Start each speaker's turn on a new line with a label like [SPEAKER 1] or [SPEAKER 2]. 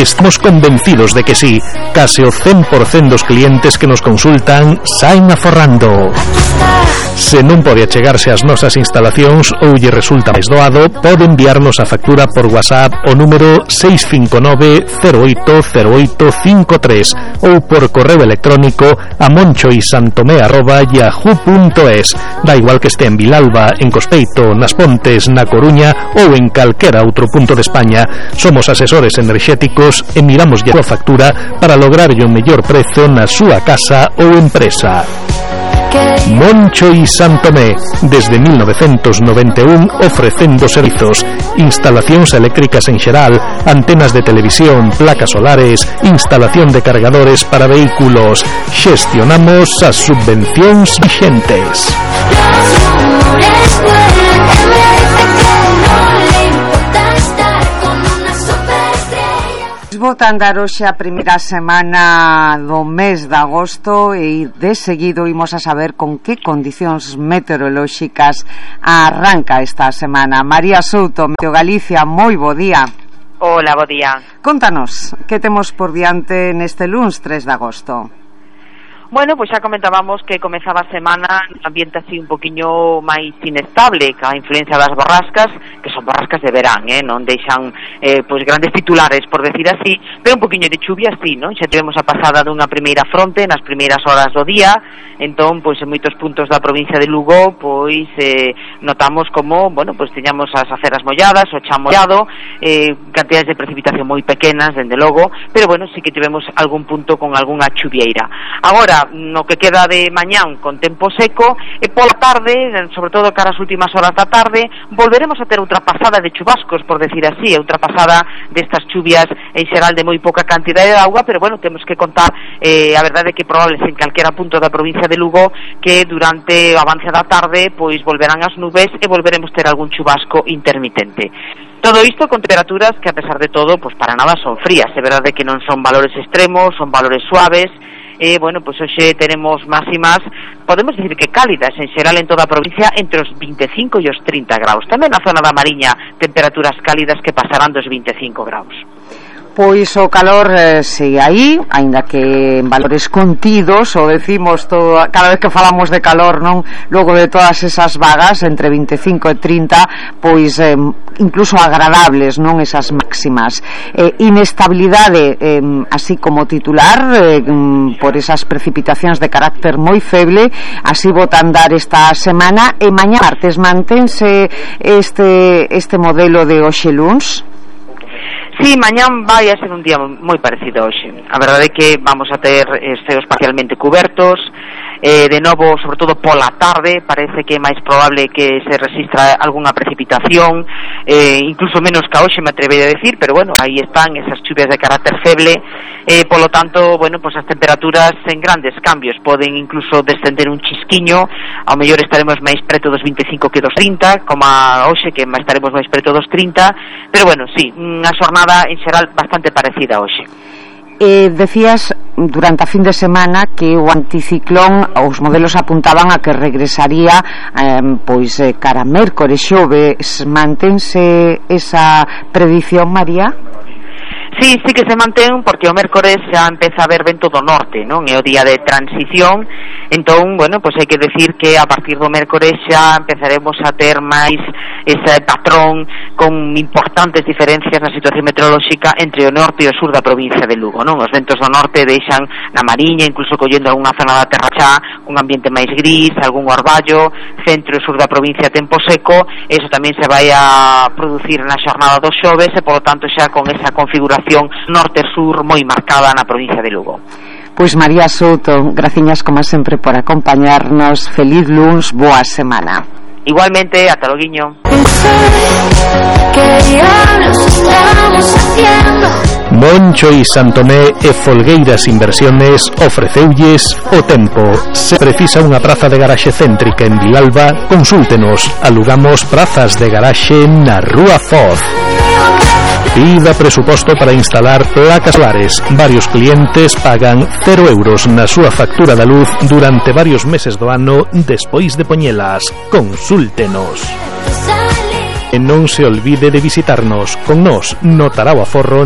[SPEAKER 1] Estamos convencidos de que sí. Case o 100% dos clientes que nos consultan saen aforrando. Se non pode achegarse ás nosas instalacións ou lle resulta máis doado, pode enviarnos a factura por WhatsApp o número 659 080853 ou por correo electrónico a monchoisantomé@yahoo.es. Da igual que este en Vilalba, en Cospeito, nas Pontes, na Coruña ou en calquera outro punto de España. Somos asesores enerxéticos e miramos a súa factura para lograrlle o mellor prezo na súa casa ou empresa. Moncho y Santomé, desde 1991 ofrecendo servizos, instalacións eléctricas en xeral, antenas de televisión, placas solares, instalación de cargadores para vehículos. Xestionamos as subvencións vixentes.
[SPEAKER 2] Botan dar hoxe a primeira semana do mes de agosto e de seguido imos a saber con que condicións meteorolóxicas arranca esta semana. María Souto, Meteo Galicia, moi bo día.
[SPEAKER 3] Hola, bo día.
[SPEAKER 2] Contanos, que temos por diante neste luns 3 de agosto?
[SPEAKER 3] Bueno, pois xa comentábamos que comezaba a semana un ambiente así un poquinho máis inestable, ca influencia das borrascas, que son borrascas de verán, non deixan pois grandes titulares, por decir así, pero un poquinho de chuvia así, non? Xa tivemos a pasada dunha primeira fronte nas primeiras horas do día, entón, pois en moitos puntos da provincia de Lugo, pois notamos como, bueno, pois tiñamos as aceras molladas, o chan mollado, cantidades de precipitación moi pequenas, dende logo, pero bueno, sí que tivemos algún punto con algunha chuvieira. Agora, no que queda de mañán con tempo seco e pola tarde, sobre todo cara as últimas horas da tarde, volveremos a ter outra pasada de chubascos, por decir así, outra pasada destas chuvias en xeral de moi pouca cantidade de auga, pero bueno, temos que contar a verdade que probables en calquera punto da provincia de Lugo que durante o avance da tarde pois volverán as nubes e volveremos ter algún chubasco intermitente. Todo isto con temperaturas que a pesar de todo, pois para nada son frías, é verdade que non son valores extremos, son valores suaves. Bueno, pois hoxe teremos máximas, podemos dicir que cálidas en xeral en toda a provincia entre os 25 e os 30 graus. Tamén na zona da Mariña temperaturas cálidas que pasarán dos 25 graus.
[SPEAKER 2] Pois o calor sigue aí, aínda que en valores contidos, o decimos todo, cada vez que falamos de calor, non? Logo de todas esas vagas entre 25 e 30, pois incluso agradables, non? Esas máximas. Inestabilidade, así como titular, por esas precipitacións de carácter moi feble, así botan dar esta semana, e mañá martes mantense este modelo de hoxe luns.
[SPEAKER 3] Sí, mañán vai a ser un día moi parecido a hoxe. A verdade é que vamos a ter ceos parcialmente cubertos, de novo, sobre todo pola tarde, parece que é máis probable que se resistra algunha precipitación, incluso menos que a hoxe, me atrevería a decir, pero bueno, aí están esas chuvias de carácter feble, polo tanto, bueno, pues as temperaturas en grandes cambios, poden incluso descender un chisquiño, ao mellor estaremos máis preto dos 25 que dos 30, como a hoxe, que estaremos máis preto dos 30, pero bueno, sí, unha xornada en xeral bastante parecida a hoxe.
[SPEAKER 2] Decías durante a fin de semana que o anticiclón, os modelos apuntaban a que regresaría pois cara mércores, xoves. Mantense esa predición, María?
[SPEAKER 3] Sí, sí que se mantén, porque o mércores xa empeza a haber vento do norte, non? É o día de transición, entón, bueno, pois hai que decir que a partir do mércores xa empezaremos a ter máis ese patrón con importantes diferencias na situación meteorolóxica entre o norte e o sur da provincia de Lugo, non? Os ventos do norte deixan na Mariña, incluso collendo algunha zona da Terra Chá, un ambiente máis gris, algún orballo, centro e sur da provincia tempo seco, eso tamén se vai a producir na xornada dos xoves e, polo tanto, xa con esa configuración norte-sur moi marcada na provincia de Lugo.
[SPEAKER 2] Pois María Souto, graciñas como sempre por acompañarnos. Feliz luns, boa semana.
[SPEAKER 3] Igualmente, ata loguiño.
[SPEAKER 1] Moncho y Santomé e Folgueiras Inversiones ofreceulles o tempo. Se precisa unha praza de garaxe céntrica en Vilalba, consúltenos. Alugamos prazas de garaxe na Rúa Foz. Pida presuposto para instalar placas solares. Varios clientes pagan 0 euros na súa factura da luz durante varios meses do ano despois de poñelas. Consúltenos. E non se olvide de visitarnos. Con nós notará o aforro